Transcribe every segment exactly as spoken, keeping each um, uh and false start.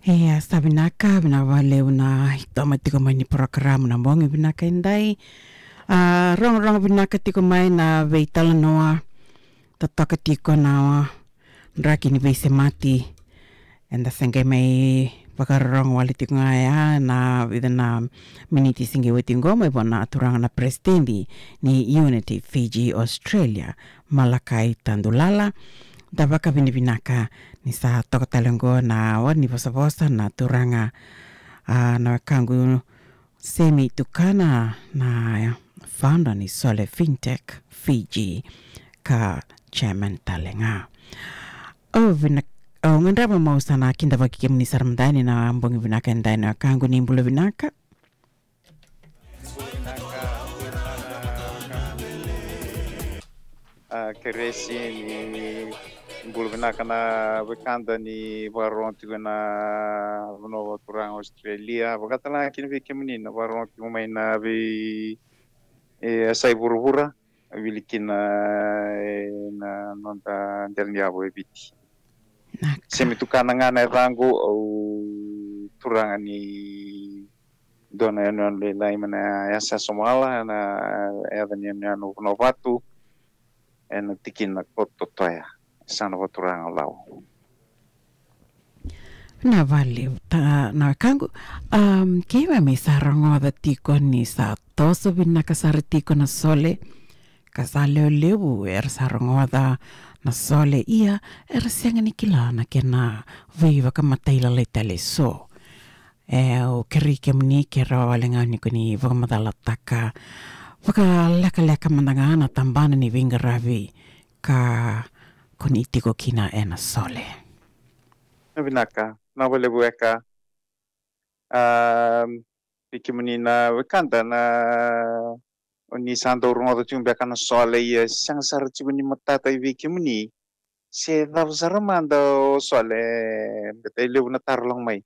Ia, sa vinaka, vinaka vakalevu na itoma tiko mai ni porokaramu na bogi vinaka edai. A, rogorogo vinaka tiko mai na veitalanoa, totoka tiko na draki ni veisemati. Eda se qai mai vakarorogo wale tiko ga ya na vica na miniti se qai oti qo mai vua na turaga na peresitedi ni Unity Fiji Australia, Malakai Tadulala. Da vakavinavinaka ni sa toka tale qo na wari ni vosavosa na turaga, a, na wekaqu Semi Tukana, na founder ni Sole Fintech Fiji ka chairman tale ga. Au vina-, au gadreva meu sa na kidavaki kemuni sara mada yani na bogi vinaka edai na wekaqu, ni bula vinaka. A, kerei ni bula vinaka na wekada ni vakarorogo tiko ena vanua vakaturaga Australia. Vakatalega kina vei kemuni na vakarorogo tiko mai na vei, e, yasai vuravura, wili kina, e, na noda dela ni yavu e Viti. Vinaka. Semi Tukana ga na yacaqu, au turaga ni dua na yanuyanu lailai mai na yasa Somala, na yaca ni yanuyanu Vanuavatu, ena tikina ko Totoya, e sa na vaturaga Lau. Na vale, ta, na wekaqu, um, keimami sa rogoca tiko ni sa toso vinaka sara tiko na Sole, ka sa lewe levu era sa rogoca na Sole, ia era sega ni kila na kena veivakamatailalai tale eso. E, au kerei kemuni ke rawa wale ga ni ko ni vakamacalataka vakalekaleka mada ga na tabana ni veiqaravi ka ko ni tiko kina ena Sole. Na vinaka, na valevu eka. A, vei kemuni na wekada na o ni sa dau rogoca tiko beka na Sole, ia sega sara tiko ni matata i vei kemuni se cava sara mada o Sole, beta e levu na taro lako mai.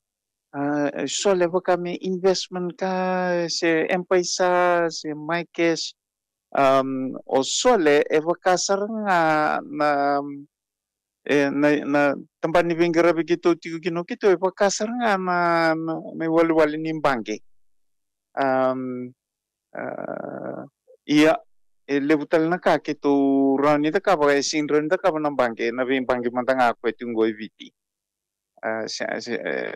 A, Sole vaka me investment ka, se M-PAiSA, se MyCash. Um, o Sole e vaka sara ga na, e, na, na tabana ni veiqaravi keitou tiko kina o keitou, e vaka sara ga na, na, na iwalewale ni baqe. Um, a, ia, e levu tale na ka keitou rawa ni cakava, e sega ni rawa ni cakava na baqe, na veibaqe mada ga ko e tiko qo e Viti. A, se, se, e,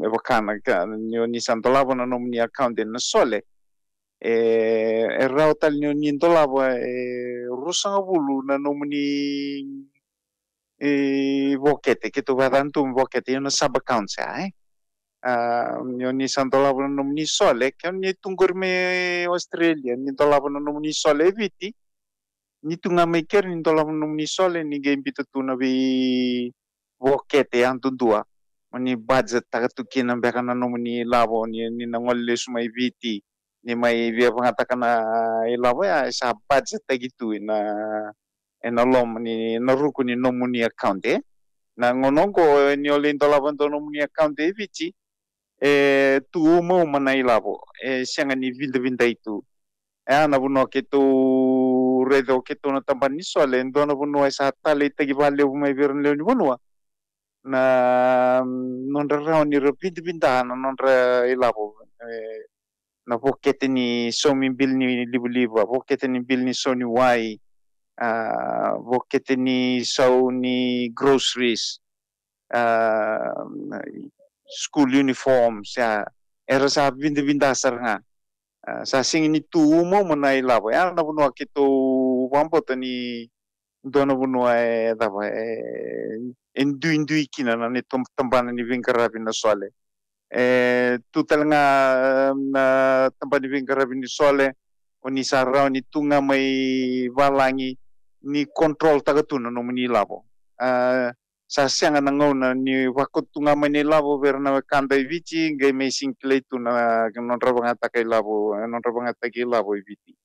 e vaka na ka, ni o ni sa dolava na nomuni account ena Sole. E, e rawa tale ni o ni dolava, e, ruasagavulu na nomuni, e, vokete, keitou vakayaca tu me vokete, ia na sub accounts ya, e. A, ni o ni sa dolava na nomuni Sole, ke o ni tu qori mai Australia, ni dolava na nomuni Sole e Viti, ni tu ga mai keri ni dolava na nomuni Sole, ni qai biuta tu na veivokete yadudua. Mo ni budget taka tu kina beka na nomuni ilavo, ni, ni na gole lesu mai Viti, ni mai via vagataka na ilavo ya, e sa budget taki tu ena, ena loma ni, na ruku ni nomuni account, e. Na gauna oqo, ni o lai dolava dua nomuni account e Viti, e tu umauma na ilavo, e sega ni vidavidai tu. E a na vanua keitou raica o keitou na tabana ni Sole, e dua na vanua e sa taleitaki vakalevu mai vei ira na lewe ni vanua na nodra rawa ni ra vidavida na nodra ilavo, e, na vokete ni saumi bili ni livaliva, vokete ni bili ni sau ni wai, a, vokete ni sau ni groceries, a, school uniforms, a, era sa vidavida sara ga. A, sa sega ni tu umauma na ilavo. E a na vanua keitou vakabauta ni dua na vanua e cava, e, e duidui kina na neitou tabana ni veiqaravi na Sole. E tu tale ga na tabana ni veiqaravi ni Sole, o ni sa rawa ni tu ga mai valagi ni control taka tu na nomuni ilavo. A, sa sega na gauna ni vakauta tu ga mai na ilavo vei ira na wekada i Viti, qai mai sega ni kilai tu na nodra vagataka ilavo, nodra vagataki ilavo i Viti.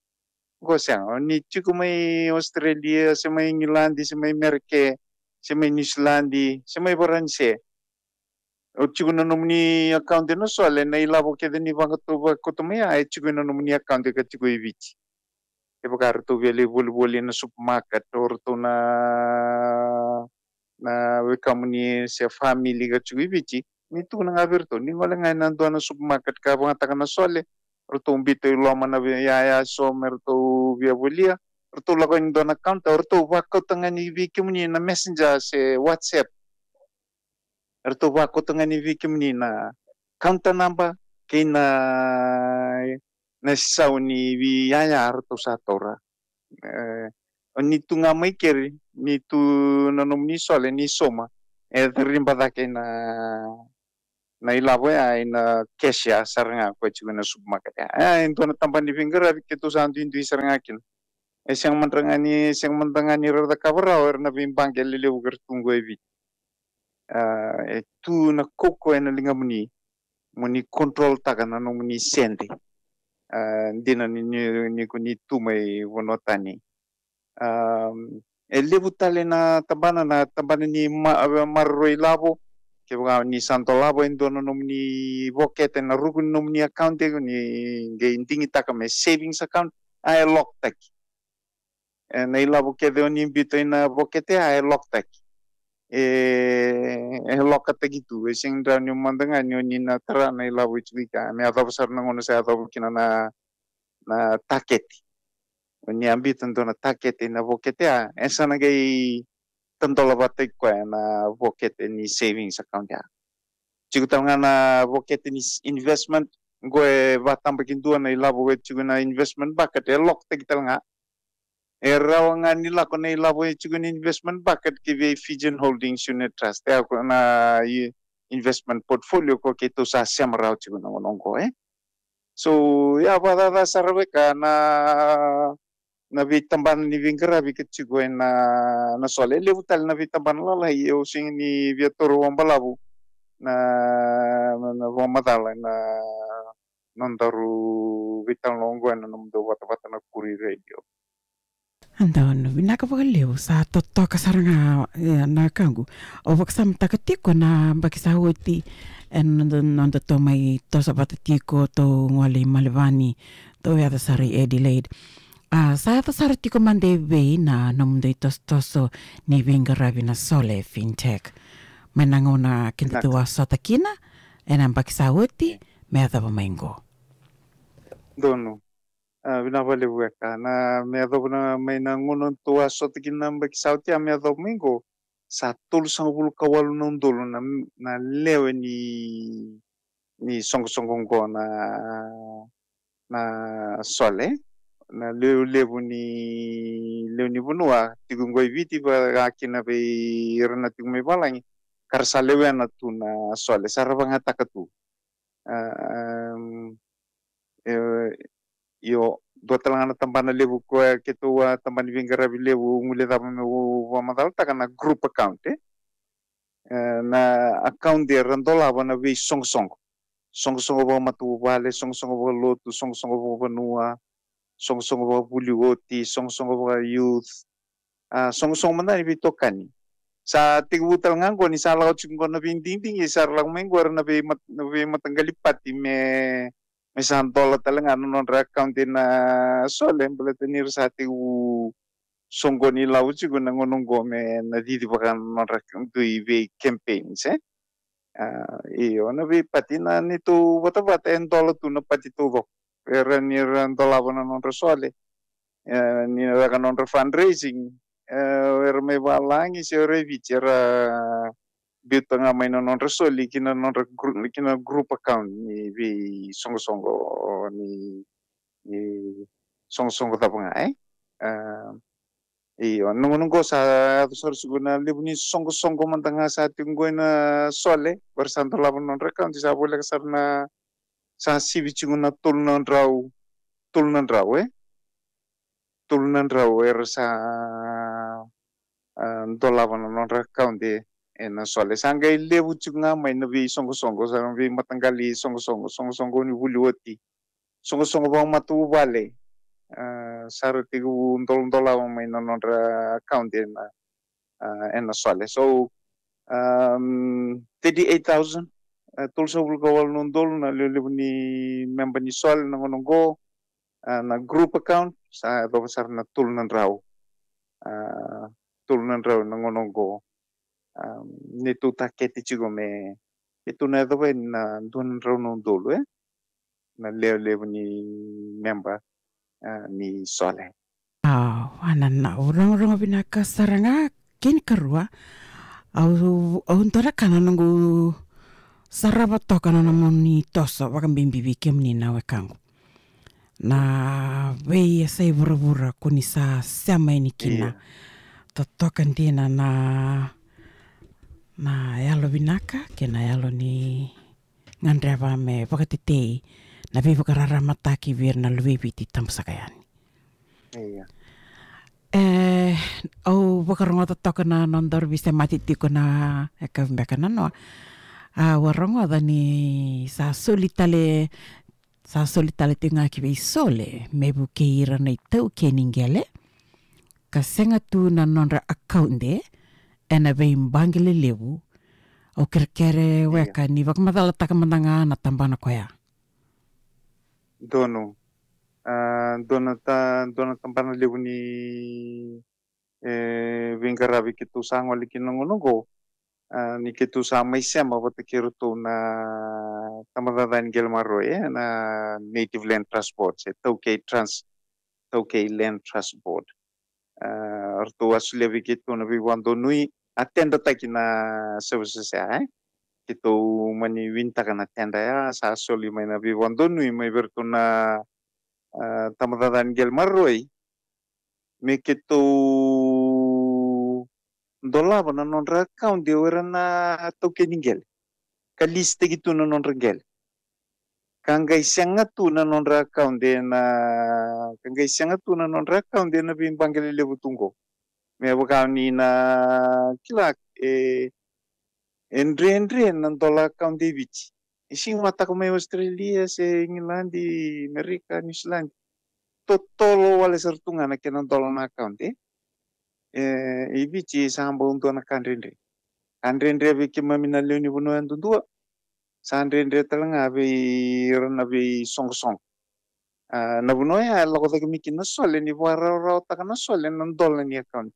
Qo sega, o ni tiko mai Australia, se mai Igiladi, se mai Merika, se mai Niusiladi, se mai Varanise. O tiko na nomuni account ena Sole, na ilavo kece ni vakauta, vakauta mai ya, e tiko ena nomuni account ka tiko i Viti. Kevaka ratou via lai volivoli ena supermarket, o ratou na, na wekamuni se family ka tiko i Viti, ni tukuna ga vei iratou, ni gole ga ina dua na supermarket ka vagataka na Sole, ratou biuta i loma na vei yaya so me ratou via volia, ratou lako yani dua na counter, ratou vakauta ga ni vei kemuni na Messenger se WhatsApp. Ratou vakauta ga ni vei kemuni na counter number kei na, na sau ni vei yaya ratou sa taura. E, o ni tu ga mai keri, ni tu na nomuni Sole, ni sauma, e riba cake na, na ilavo ya ina cashier sara ga ko e tiko na supermarket ya. E, e dua na tabana ni veiqaravi keitou sa duidui sara ga kina. E sega mada ga ni, sega mada ga ni ra cakava rawa era na veibaqe lelevu ka ra tu qo e Viti. A, e tu na kaukaua ena ligamuni mo ni control taka na nomuni sede. A, dina ni, ni, ni ko ni tu mai vanua tani. A, e levu tale na tabana, na tabana ni ma-, maroroi lavo. Kevaka ni sa dolava e dua na nomuni vokete na ruku ni nomuni account, e ko ni qai digitaka me savings account, a, e lock taki. E, na ilavo kece o ni biuta ina vokete, a, e lock taki. E, e lock taki tu. E sega ni rawa ni mada ga ni o ni na tara na ilavo e tiko i ke me yacova sara na gauna sa yacova kina na, na takete. O ni a biuta dua na takete ina vokete, a, e sa na qai tadola vata i koya na vokete ni savings account ya. Tiko tale ga na vokete ni s-, investment, qo e vatabakidua na ilavo e tiko na investment bucket, e lock taki tale ga. E rawa ga ni lako na ilavo e tiko na investment bucket ki vei Fijian Holdings Unit Trust, e a ko na i-, investment portfolio ko keitou sa sema rawa tiko na gauna qo, e. So, ia, vakacaca sara weka na, na veitabana ni veiqaravi ka tiko ena, na Sole. E levu tale na veitabana lalai, au sega ni via taura vakabalavu na, na, na vakamacala ena nodaru veitalanoa qo ena nomudou vatavata na Koori Radio. Donu, vinaka vakalevu, sa totoka sara ga, e, na kaqu. Au vakasamataka tiko na yabaki sa oti, e, noda, noda tou mai toso vata tiko, tou gole i Melevani, tou yaco sara i Adelaide. A, sa yaco sara tiko mada e vei na nomudou itosotoso ni veiqaravi na Sole Fintech? Mai na gauna keda tou a sota kina ena yabaki sa oti, me yacova mai qo. Donu. A, vinaka vakalevu weka. Na, me yacova na, mai na gauna tou a sota kina na yabaki sa oti, a, me yacova mai qo, sa tolusagavulu ka walu na udolu na, na lewe ni, ni soqosoqo qo na, na Sole. Na lewe levu ni, lewe ni vanua tiko qo i Viti, vaka kina vei ira na tiko mai valagi, ka ra sa lewena tu na Sole, sa ra vagataka tu. A, em, e, io, dua tale ga na tabana levu koya keitou a, tabana ni veiqaravi levu, au guilecava meu vakamacalataka na group account, e. E, na account era dolava na veisoqosoqo. Soqosoqo vakamatavuvale, soqosoqo vakalotu, soqosoqo vakavanua, soqosoqo vakavuli oti, soqosoqo vaka-youth, a, soqosoqo mada ni veitokani. Sa tekivu tale ga qo ni sa lako tiko qo na veidigidigi, sa ra lako mai qo era na veimat-, na veimataqali pati me, me sa dola tale ga na nodra account ena Sole, baleta ni ra sa tekivu soqoni lavo tiko na gauna qo me na cici vaka na nodra dui vei campaigns, e. A, io, na veipati na neitou vatavata e dola tu na pati taucoko. Era ni ra dolava na nodra Sole, e, ni ra caka nodra fundraising, e, era mai valagi se era i Viti, era biuta ga mai na nodra Sole ki na nodra gru-, ki na group account ni veisoqosoqo ni, ni soqosoqo cava ga, e. A, io, na gauna qo sa yaco sara tiko na levu ni soqosoqo mada ga sa tiko qo ena Sole, era sa dolava na nodra account, sa voleka sara na, sa sivi tiko na tolu na drau, tolu na drau, e? Tolu na drau era sa, a, dolava na nodra account ena Sole. Sa qai levu tiko ga mai na veisoqosoqo, sa na veimataqali soqosoqo, soqosoqo ni vuli oti, soqosoqo vakamatavuvale, a, sa ra tekivu dol-, dolava mai na nodra account ena, a, ena Sole. So, um, thirty-eight thousand, a, tolusagavulu ka walu na udolu na lewe levu ni memba ni Sole na gauna qo, a, na group account, sa yacova sara na tolu na drau. A, tolu na drau na gauna qo. A, neitou takete tiko me, Keitou na yacova yani na dua na drau na udolu, e? Na lewe levu ni memba, e, ni Sole. Au a nanau, rogorogo vinaka sara ga. Kena ikarua, au, au dua na ka na noqu sarava toka na nomuni toso vakabibi vei kemuni na wekaqu. Na veiyasai vuravura ko ni sa sema yani kina. Ia. Totoka dina na, na yalo vinaka kei na yalo ni gadreva me vakatetei na veivakararamataki vei ira na luvei Viti tabu saka yani. Ia. E, au vakarogoca toka na nodaru veisemati tiko na yakavi beka nanoa. Au a rogoca ni sa soli tale, sa soli tale tiko ga ki vei Sole me vukei ira na itaukei ni qele ka sega tu na nodra akaude ena veibaqe lelevu. Au kerekere weka ni vakamacalataka mada ga na tabana koya. Donu. A, dua na ta, dua na tabana levu ni, e, veiqaravi keitou sa gole kina na gauna oqo. A, ni keitou sa mai sema vata kei iratou na tabacakacaka ni qele maroroi, e, na Native Land Trust Board, se Taukei Trans, Taukei Land Trust Board. A, ratou a solia vei keitou na veivakadonui, a tendataki na services ya, e. Keitou mani winitaka na tenda ya, sa soli mai na veivakadonui mai vei iratou na, a, tabacakacaka ni qele maroroi me keitou dolava na nodra akaude o ira na taukei ni qele ka lisitaki tu na nodra qele. Ka qai sega tu na nodra akaude na, ka qai sega tu na nodra akaude na veibaqe lelevu tu qo. Me vaka ni na kila, e, e dredre na dola akaude e Viti. E sega ni mataka mai Australia se Igiladi, Amerika, Niusiladi. Totolo wale sara tu ga na kena dola na akaude. E, e Viti sa bau dua na ka dredre. Ka dredre vei keimami na lewe ni vanua yadudua. Sa dredre tale ga vei ira na veisoqosoqo. A, na vanua ya e lako cake mai kina na Sole, ni vakarawarawataka na Sole na dola ni akaude.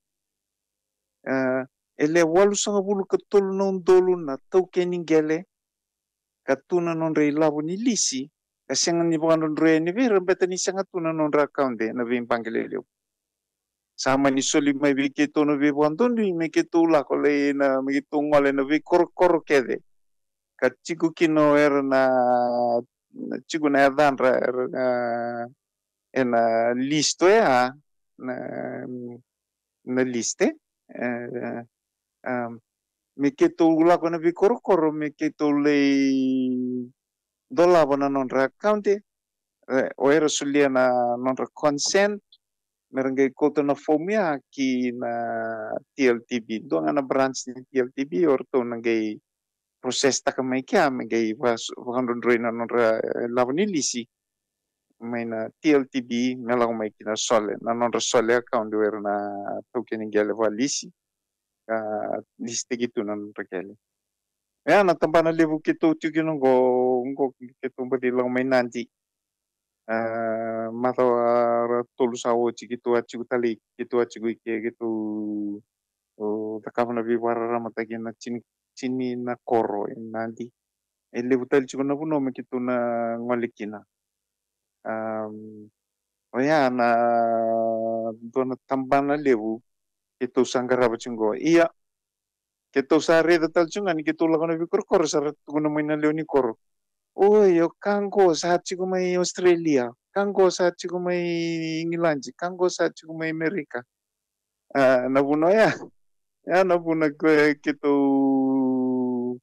A, e le walusagavulu ka tolu na udolu na taukei ni qele ka tu na nodra ilavo ni lisi, ka sega ni vakadrodroi yani vei ira beta ni sega tu na nodra akaude na veibaqe lelevu. Sa mani soli mai vei keitou na veivakadonui me keitou lako lai na, me keitou gole na veikorokoro kece ka tiko kina o ira na, na tiko na yacadra era na, ena list oya, na, na list, e, a, me keitou lako na veikorokoro me keitou lai dolava na nodra akaude, e, o ira solia na nodra consent me ra qai kauta na fomu ya ki na T L T B. Dua ga na branch ni T L T B o ratou na qai process taka mai kea me qai vaka, vakadrodroi na nodra, e, ilavo ni lisi mai na T L T B me lako mai ki na Sole, na nodra Sole akaude o ira na taukei ni qele vakalisi, ka lisitaki tu na nodra qele. Ia na tabana levu keitou tiko kina oqo, oqo keitou baci lako mai Nadi. A, macawa ra tolu sa oti keitou a tiko tale, keitou a tiko i ke, keitou, o, cakava na veivakararamataki na tini, tini na koro e Nadi. E levu tale tiko na vanua me keitou na gole kina. Am, oya na dua na tabana levu keitou sa qarava tiko qo. Ia, keitou sa raica tale tiko ga ni keitou lako na veikorokoro sa ra tukuna mai na lewe ni koro. Oi, o ka qo sa tiko mai Australia, ka qo sa tiko mai Igiladi, ka qo sa tiko mai Amerika. A, na vuna oya, ya na vuna ko keitou,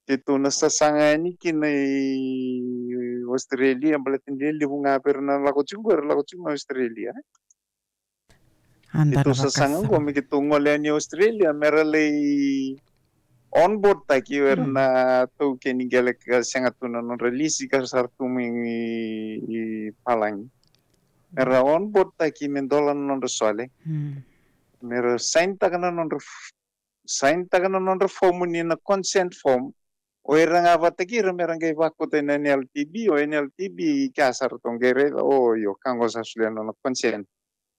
keitou na sasaga yani kina i Australia, baleta ni levu ga vei ira na lako tiko, era lako tiko mai Australia. Keitou sasaga qo me keitou gole yani Australia me ra lai on board taki o ira na taukei ni qele ka sega tu na nodra lisi ka sa ra tu mai i, i palagi. Me ra on board taki me dola na nodra Sole. Me ra sign taka na nodra f-, sign taka na nodra fomu ni na consent form. O ira ga vata kei ira me ra qai vakauta ena N L T B, o N L T B kea sa ratou qai raica, o io, ka qo sa solia na nona consent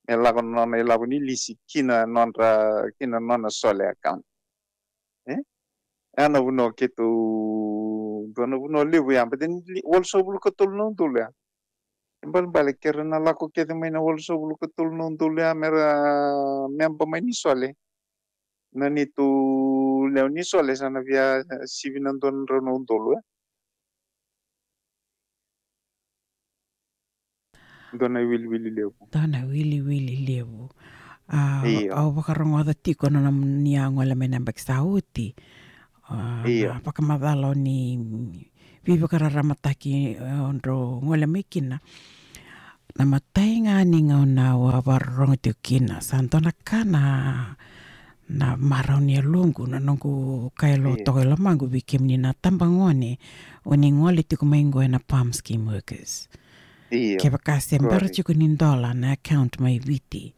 me lako na nona ilavo ni lisi ki na nodra, ki na nona Sole account. E? Ena vanua keitou Dua na vanua levu ya, but then walusagavulu ka tolu na udolu ya. Ibalebale ke ra na lako kece mai na walusagavulu ka tolu na udolu ya me ra memba mai ni Sole. Na neitou lewe ni Sole sa na via sivi na dua na drau na udolu ya. Dua na iwiliwili levu. Dua na iwiliwili levu. A, io, au vakarogoca tiko na nomuni a gole mai na yabaki sa oti. A, io, na vakamacala o ni veivakararamataki, e, o drau gole mai kina. Na imatai ga ni gauna au a vakarorogo tiko kina, sa dua na ka na, na marau ni yaloqu, na noqu kaya lo, io, toka i lomaqu vei kemuni na tabagone o ni gole tiko mai qo ena PALM Scheme Workers. Io. Kevaka se bera tiko ni dola na account mai Viti,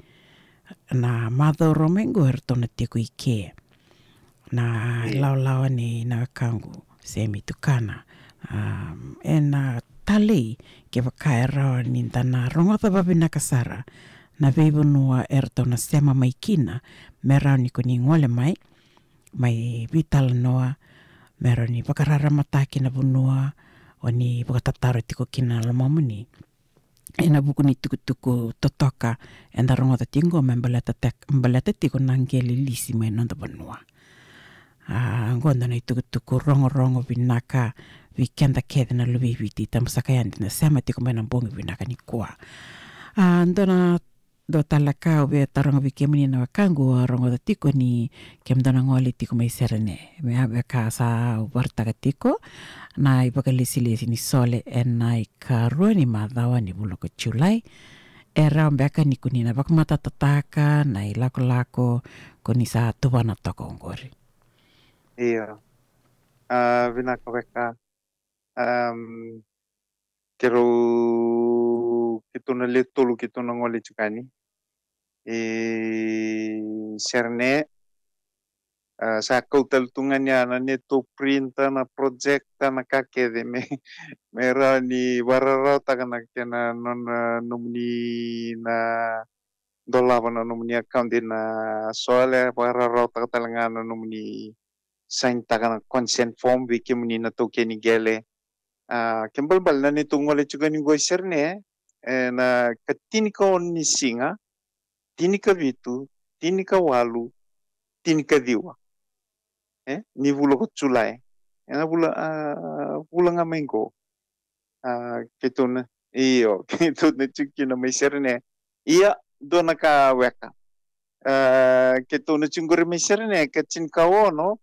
na macawa rua mai qo eratou na tiko i ke. Na, io, lawalawa nei na wekaqu Semi Tukana. Um, ena talei, kevaka e rawa ni da na rogoca vavinaka sara na veivanua eratou na sema mai kina, me rawa ni ko ni gole mai, mai veitalanoa, me rawa ni vakararamataki na vanua o ni vakatataro tiko kina na lomamuni. Ena vuku ni tukutuku totoka eda rogoca tiko qo me baleta tek-, baleta tiko na qele lisi mai noda vanua. A, qo dua na itukutuku rogorogo vinaka vei keda kece na luve i Viti, tabu saka yani da sema tiko mai na bogi vinaka nikua. A, dua na, dua tale ka au via taroga vei kemuni na wekaqu, au rogoca tiko ni kemudou na gole tiko mai Serene. Me a veka sa au vakaraitaka tiko na ivakalesilesi ni Sole ena ikarua ni macawa ni vula ko Julai. E rawa beka ni ko ni na vakamatatataka na ilakolako ko ni sa tuvana toka oqori? Io. A, vinaka weka. Am, keirau, keitou na le tolu keitou na gole tiko yani. E, Serene, a, sa kau tale tu ga ni a na neitou printer, na projector, na ka kece me, me rawa ni vakararawataka na kena nona nomuni na dolava na nomuni account ena Sole, vakararawataka tale ga na nomuni sainitaka na consent form vei kemuni na taukei ni qele. A, ke balebale na neitou gole tiko yani qo i Serene, e, na ka tinikaono ni siga, tinikavitu, tinikawalu, tinikaciwa, e, ni vula ko Julai. Ena vula, a, vula ga mai qo. A, keitou na, io, keitou na tiko kina mai Serene. Ia, dua na ka weka. A, keitou na tiko qori mai Serene, ka tinikaono,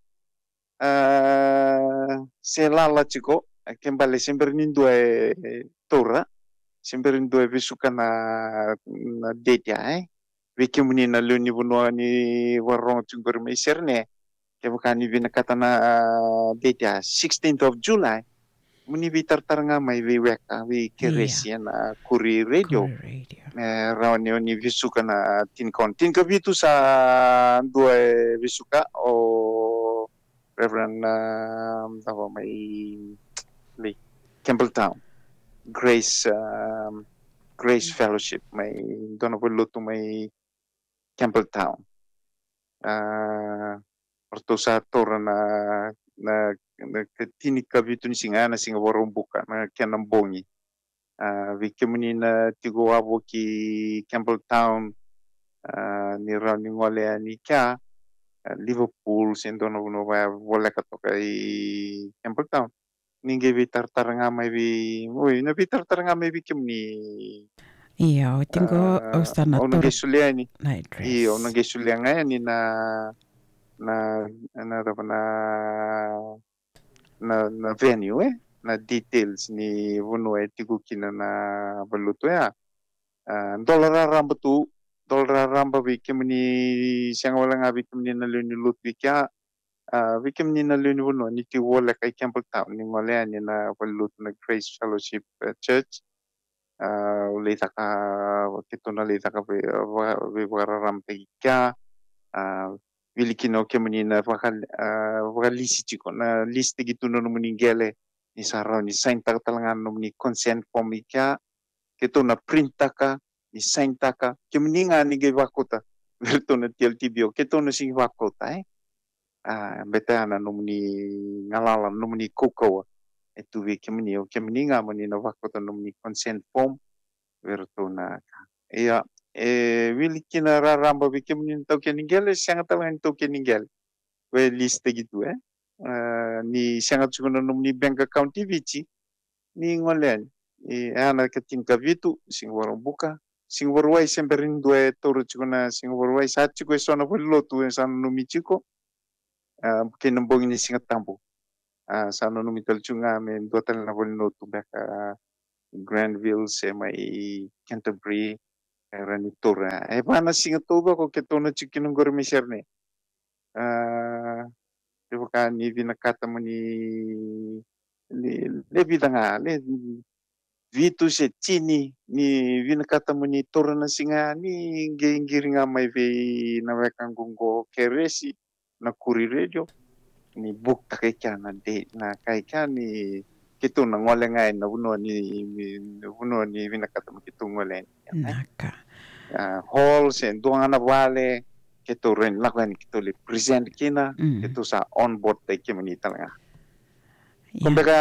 a, se lala tiko, a, ke bale se bera ni dua e taura, se bera ni dua e vesuka na, na date ya, e. Vei kemuni na lewe ni vanua ni vakarorogo tiko qori mai Serene, kevaka ni vinakata na, a, date ya, sixteenth of July, mo ni veitaratara ga mai vei weka, vei Keresi ena Koori Radio. Koori Radio. Me rawa ni o ni vesuka na tinikaono. Tinikavitu sa dua e vesuka, o Reverend, a, cava mai, mai Campbelltown. Grace, a, Grace Fellowship, mai dua na valenilotu mai Campbelltown. A, o ratou sa taura na, na, na ka tinikavitu ni siga, na siga Vakaraubuka, na kena bogi. A, vei kemuni na tiko wavoki Campbelltown, a, ni rawa ni gole yani kea, a, Liverpool, se dua na vanua vaya voleka toka i Campbelltown. Ni qai veitaratara ga mai vei, oi, na veitaratara ga mai vei kemuni. Io, au tiko, a, au sa na, au na qai solia yani. Na address. Io, au na qai solia ga yani na, na, na, na, na, na venue, e? Na details ni vanua e tiko kina na valenilotu ya. A, dola raraba tu, dola raraba vei kemuni, sega wale ga vei kemuni na lewe ni lotu vei kea, a, vei kemuni na lewe ni vanua ni tiko voleka i Campbelltown, ni gole yani na valenilotu na Grace Fellowship, e, Church. A, au lai caka, keitou na lai caka vei, va-, veivakararamataki kea, a, wili kina o kemuni na vaka, a, vakalisi tiko, na lisitaki tu na nomuni qele, ni sa rawa ni sainitaka tale ga na nomuni consent form i kea, keitou na printaka, ni sainitaka, kemuni ga ni qai vakauta vei iratou na T L T B O, keitou na sega ni vakauta, e? A, beta ya na nomuni galala, nomuni kaukauwa. e tu vei kemuni, o kemuni ga mo ni na vakota nomuni consent form vei iratou na ka. Ia, e wili kina raraba vei kemuni na taukei ni qele, sega tale ga ni taukei ni qele. Ko e list taki tu, e? A, ni sega tiko na nomuni bank account i Viti, ni gole yani. E, a, na ka tinikavitu, siga Vakaraubuka. Siga Vakarauwai se bera ni dua e taura tiko na siga Vakarauwai, sa tiko e so na valenilotu e sa nanumi tiko. A, kei na bogi ni Siga Tabu. A, sa nanumi tale tiko ga me dua tale na valenilotu beka, a, Granville se mai Canterbury, e rawa ni taura. E va na siga taucoko keitou na tiko kina qori mai Sydney. A, kevaka ni vinakata mo ni, ni, le vica ga, le vitu se tini, ni vinakata mo ni taura na siga, ni qai qiri ga mai vei na wekaqu qo Keresi, na Koori Radio, ni book taka i kea na date, na ka i kea ni keitou na gole ga ena vanua ni, ni, na vanua ni vinakata mo keitou gole yani. Naka. A, hall se dua ga na vale, keitou rawa ni lako yani keitou lai present kina, mm, keitou sa on board taki kemuni tale ga. Ko, ia, beka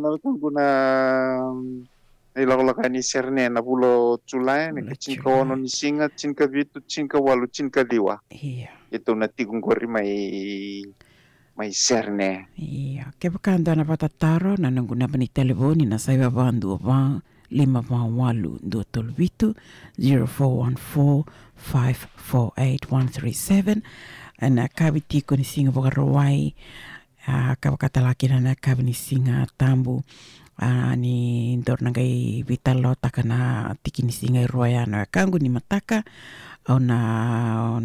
na wekaqu na, na ilakolako yani Sydney na vula o Julai, na, vula o Julai, tinikaono ni siga, tinikavitu, tinikawalu, tinikaciwa. Ia. Keitou na tiko qori mai, mai Sydney. Ia. Kevaka dua na vakatataro, na noqu naba ni talevoni na saiva va dua va, lima va walu dua tolu vitu, zero four one four, five four eight, one three seven. Ena yakavi tiko ni siga Vakarauwai, a, ka vaka tale ga kina na yakavi ni Siga Tabu. A, ni daru na qai veitalanoataka na tiki ni siga e rua ya na wekaqu ni mataka. Au na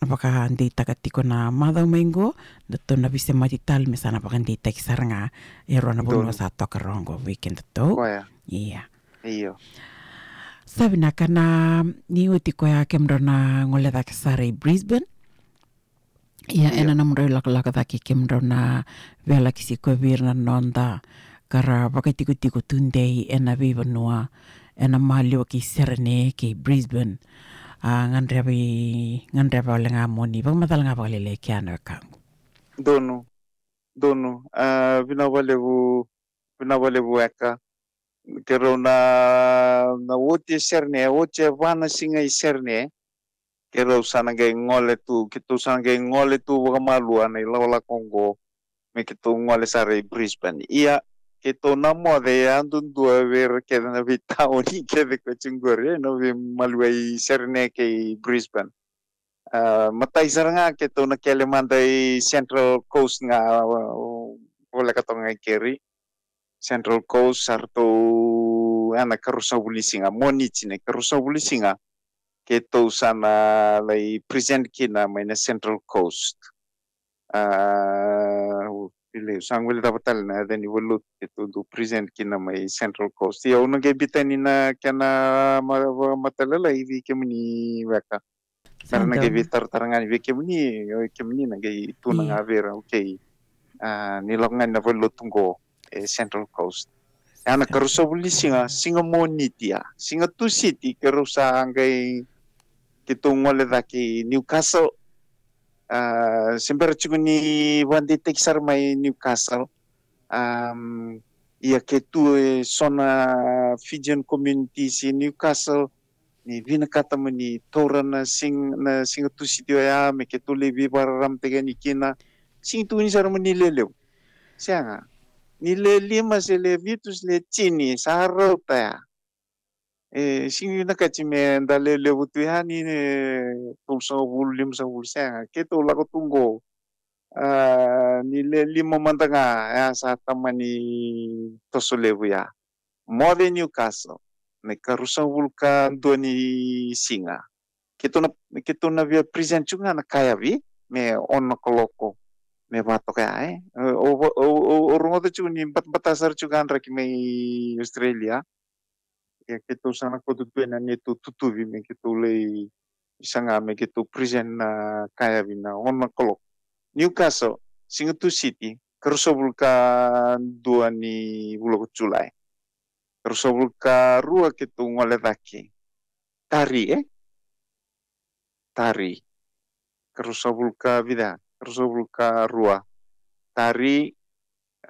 vakadeitaka tiko na macawa mai qo, datou na veisemati tale me sa na vakadeitaki sara ga e rua na vanua, donu, sa toka rawa qo vei kedatou. Koya. Ia. Io. Sa vinaka na, ni oti koya kemudrau na gole cake sara i Brisbane. Ia, io, ena nomudrau ilakolako cake kemudrau na veiyalayalati ko vei ira na noda ka ra vakaitikotiko tudei ena veivanua, ena maliwa kei Sydney kei Brisbane. A, gadreva i, gadreva wale ga mo ni vakamacala ga vakalailai kea na wekaqu. Donu, donu. A, vinaka vakalevu, vinaka vakalevu weka. Keirau na, na oti e Sydney, oti e va na siga i Sydney. Keirau sa na qai gole tu, keitou sa na qai gole tu vakamalua na ilakolako oqo. Me keitou gole sara i Brisbane. Ia, keitou na moce yadudua vei ira kece na veitaoni kece ko tiko qori, e, na veimaliwai Sydney kei Brisbane. A, matai sara ga keitou na kele mada i Central Coast ga, a, voleka toka ga i keri. Central Coast, sa ratou, a, na ikaruasagavulu ni siga, Moniti na ikaruasagavulu ni siga, keitou sa na lai present kina mai na Central Coast. A, o, vei au, sa guilecava tale na yaca ni valenilotu keitou dau present kina mai Central Coast. Ia, au na qai biuta yani na kena ma-, ma-, matailalai vei kemuni weka. Sa donu. Me ra na qai veitaratara ga yani vei kemuni, o kemuni na qai tukuna ga vei ira, okay. A, ni lako ga yani na valenilotu qo e Central Coast. Ia, na ikaruasagavulu ni siga, siga Moniti ya. Siga Tusiti, keirau sa qai, keitou gole cake i Newcastle. A, se bera tiko ni vakadeitaki sara mai Newcastle. Am, ia ke tu e so na Fijian communities i Newcastle, ni vinakata mo ni taura na sig-, na siga Tusiti oya, me keitou lai veivakararamataki yani kina. Sega ni tukuni sara mo ni lewe levu. Sega. Ni lewe lima se lewe vitu se lewe tini, sa rauta ya. E, sega ni vinakati me da lewe levu tu yani, e, tolusagavulu, limasagavulu, sega. Keitou lako tu qo. A, ni lewe lima mada ga, ya sa tamani toso levu ya. Moce Newcastle, na ikaruasagavulu ka dua ni siga. Keitou na, keitou na via present tiko ga na kayavi, me ono na kaloko, me va toka ya, e. O, o, o, o, o rogoca tiko ni batabata sara tiko ga draki mai Australia. Ia keitou sa na kauta tu ena neitou tutuvi me keitou lai saga me keitou present na kayavi na ono na kaloko. Newcastle, siga Tusiti, ikaruasagavulu ka dua ni vula ko Julai. Ikaruasagavulu ka rua keitou gole cake. Tari, e? Tari. Ikaruasagavulu ka vica, ikaruasagavulu ka rua. Tari,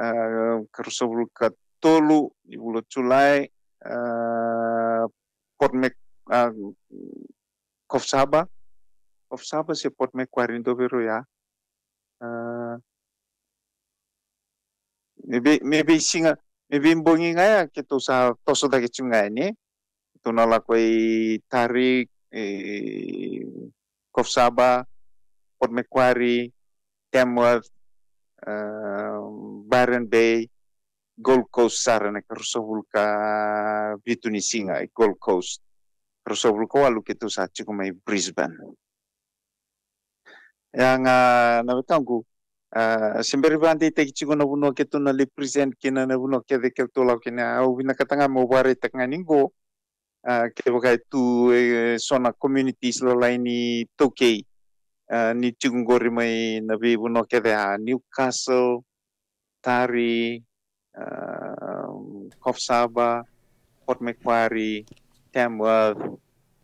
ah, ka ruasagavulu ka tolu ni vula o Julai, ah, Port Mac-, ah, Coffs Harbour. Coffs Harbour se Port Macquarie, dua vei rau ya. Ah, me vei, me veisiga, me veibogi ga ya keitou sa toso cake tu ga yani, e. Keitou na lako i Taree, e, Coffs Harbour, Port Macquarie, Tamworth, ah, Byron Bay, Gold Coast sara na ka ruasagavulu ka vitu ni siga i Gold Coast. Ruasagavulu ka walu keitou sa tiko mai Brisbane. Ya ga na wekaqu, ah, se bera ni vakadeitaki tiko na vanua keitou na lai present kina, na vanua kece keitou lako kina. Au vinakata ga meu vakaraitaka ga ni qo, ah, kevaka e tu, eh, so na communities lalai ni iTaukei, ah, ni tiko qori mai na veivanua kece, ah, Newcastle, Taree, ah, Coffs Harbour, Port Macquarie, Tamworth,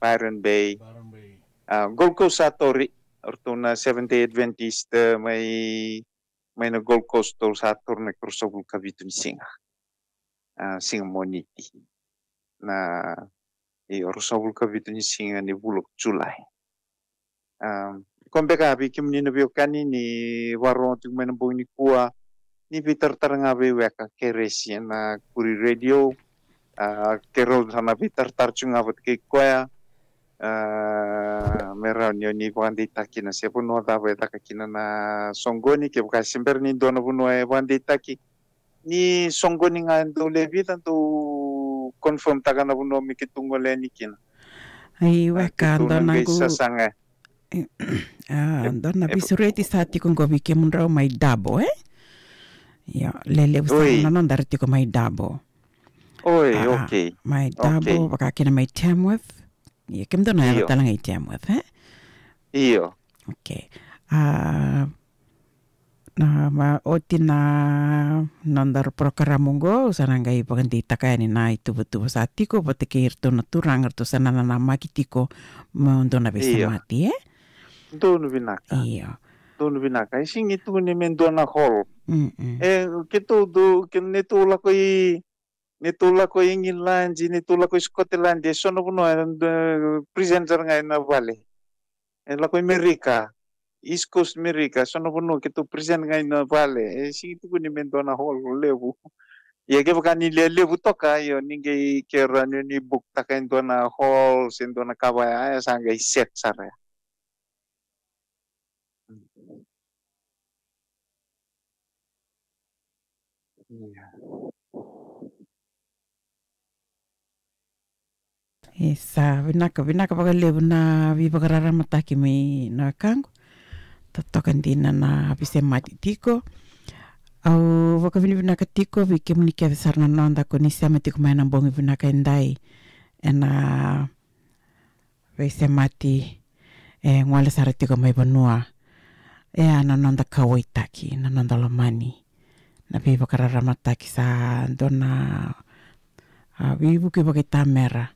Byron Bay. Byron Bay. Ah, Gold Coast sa tauri, o ratou na Seventh Day Adventist, eh, mai, mai na Gold Coast, ratou sa tauri na ka ruasagavulu ka vitu ni siga. Ah, siga Moniti. Na, io, ruasagavulu ka vitu ni siga ni vula o Julai. Ah, ko beka vei kemuni na veiwekani ni vakarorogo tiko mai na bogi nikua, ni veitaratara ga vei weka Keresi ena Koori Radio. Ah, keirau sa na veitaratara tu ga vata kei koya. Ah, me rawa ni o ni vakadeitaka kina se vanua cava e caka kina na soqoni, kevaka se bera ni dua na vanua e vakadeitaki. Ni soqoni ga e dau lewe vica, dau confirm taka na vanua me keitou gole yani kina. Ai, ah, weka, keitou dua na qai qu-, sasaga. E, ah, e, dua na e, veisureti sa tiko qo vei kemudrau mai Dubbo, e? Io, lelevu sara, oi, na noda era tiko mai Dubbo. Oi, ah, okay. Mai Dubbo, okay, vaka kina mai Tamworth. Io, kemudou na yaco, io, tale ga i Tamworth, e? Io. Okay. Ah, na, ma, oti na noda porokaramu qo, au sa na qai vakadeitaka yani na ituvatuva sa tiko vata kei iratou na turaga, ratou sa na nanamaki tiko mo dou na, io, veisemati, e? Donu vinaka. Io. Donu vinaka. E sega ni tukuni me dua na hall. Mm-mm. E, keitou dau, ke, neitou lako i, neitou lako i Igiladi, neitou lako i Scotland, e so na vanua, e, present sara ga ena vale. E lako i Merika, East Coast Merika, so na vanua keitou present ga ena vale. E sega ni tukuni me dua na hall levu. Ia kevaka ni lewe levu toka, io, ni qai, ke rawa ni o ni book taka e dua na hall se dua na ka vaya, e sa qai set sara ya. Ia. Isa, vinaka, vinaka vakalevu na veivakararamataki mai na wekaqu. Totoka dina na veisemati tiko. Au vakavinavinaka tiko vei kemuni kece sara na noda ko ni sema tiko mai ena bogi vinaka edai ena veisemati e gole sara tiko mai vanua. E a na noda kauwaitaki, na noda lomani, na veivakararamataki sa dua na, a, veivuke vakaitamera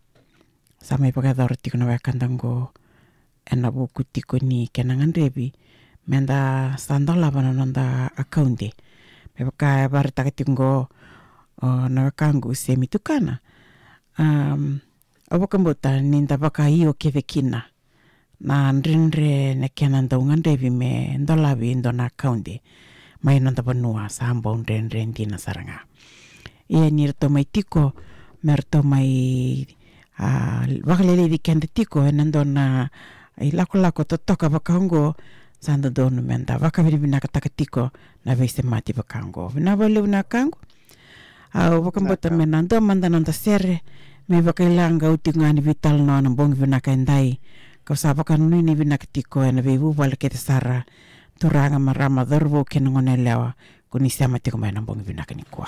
sa mai vakayacora tiko na wekada qo ena vuku tiko ni kena gadrevi meda sa dolava na noda akaude. Me vaka e vakaraitaka tiko qo o na wekaqu Semi Tukana. Am, au vakabauta ni da vakaio kece kina na dredre na kena dau gadrevi me dolavi e dua na akaude mai noda vanua, sa bau dredre dina sara ga. Ia ni ratou mai tiko me ratou mai, a, vakaleleci keda tiko ena dua na ilakolako totoka vaka oqo, sa dodonu meda vakavinavinakataka tiko na veisemati vaka oqo. Vinaka vakalevu na wekaqu. Au vakabauta me na dua mada na noda sere me vakailagau tiko ga ni veitalanoa na bogi vinaka edai. Kau sa vakanuinui vinaka tiko ena veivuvale kece sara, turaga, marama, cauravou kei na goneyalewa ko ni sema tiko mai ena bogi vinaka nikua.